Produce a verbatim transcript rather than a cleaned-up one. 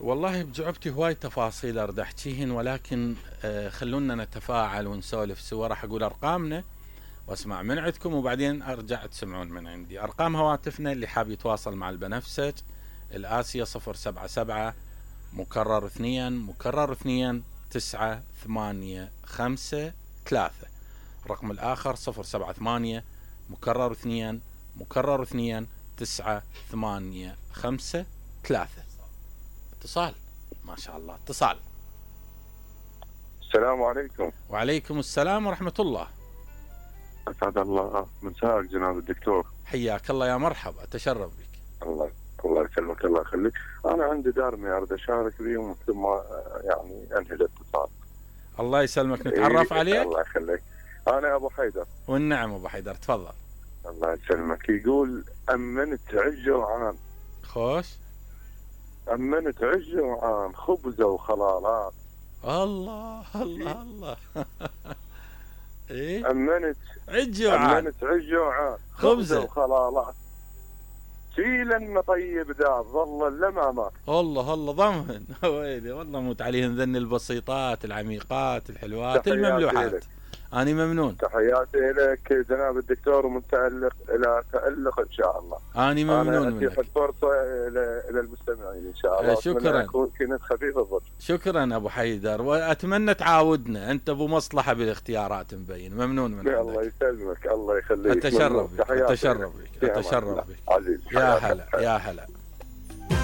والله بجعبتي هواي تفاصيل اريد احكيهن، ولكن آه خلونا نتفاعل ونسولف سوا. راح اقول ارقامنا واسمع من عندكم وبعدين ارجع تسمعون من عندي. ارقام هواتفنا اللي حاب يتواصل مع البنفسج الآسية صفر سبعة سبعة مكرر اثنين مكرر اثنين تسعة ثمانية خمسة ثلاثة. الرقم الآخر صفر سبعة ثمانية مكرر اثنين مكرر اثنين تسعة ثمانية خمسة ثلاثة. اتصال ما شاء الله. اتصال. السلام عليكم. وعليكم السلام ورحمة الله. أسعد الله مساك جناب الدكتور. حياك الله يا مرحبا، أتشرف بك. الله الله يسلمك الله يخليك. أنا عندي دارمي أريد أشارك بهم ثم يعني أنهي الاتصال. الله يسلمك. نتعرف إيه عليك. الله يخليك. أنا أبو حيدر. والنعم أبو حيدر، تفضل. الله يسلمك. يقول أمنت عجة وعان. خوش. أمنت عجة وعان خبزة وخلالات. الله الله الله. إيه؟ أمنت عجة وعان. أمنت عجة وعان خبزة وخلالات. شيلا طيب دار ظل الامامات. الله الله ضمن. ويلي والله موت عليهم ذن البسيطات العميقات الحلوات المملوحات. أنا ممنون. تحياتي لك جناب الدكتور ومتألق إلى تألق إن شاء الله. أنا ممنون منك. أنا فرصة إلى المستمعين إن شاء الله. شكرا. كنت خفيف الظل. شكرا أبو حيدر، وأتمنى تعاودنا. أنت أبو مصلحة بالاختيارات مبين. ممنون منك. الله يسلمك الله يخليك. أتشرف بك أتشرف بك أتشرف بك. عزيز. يا هلا يا هلا.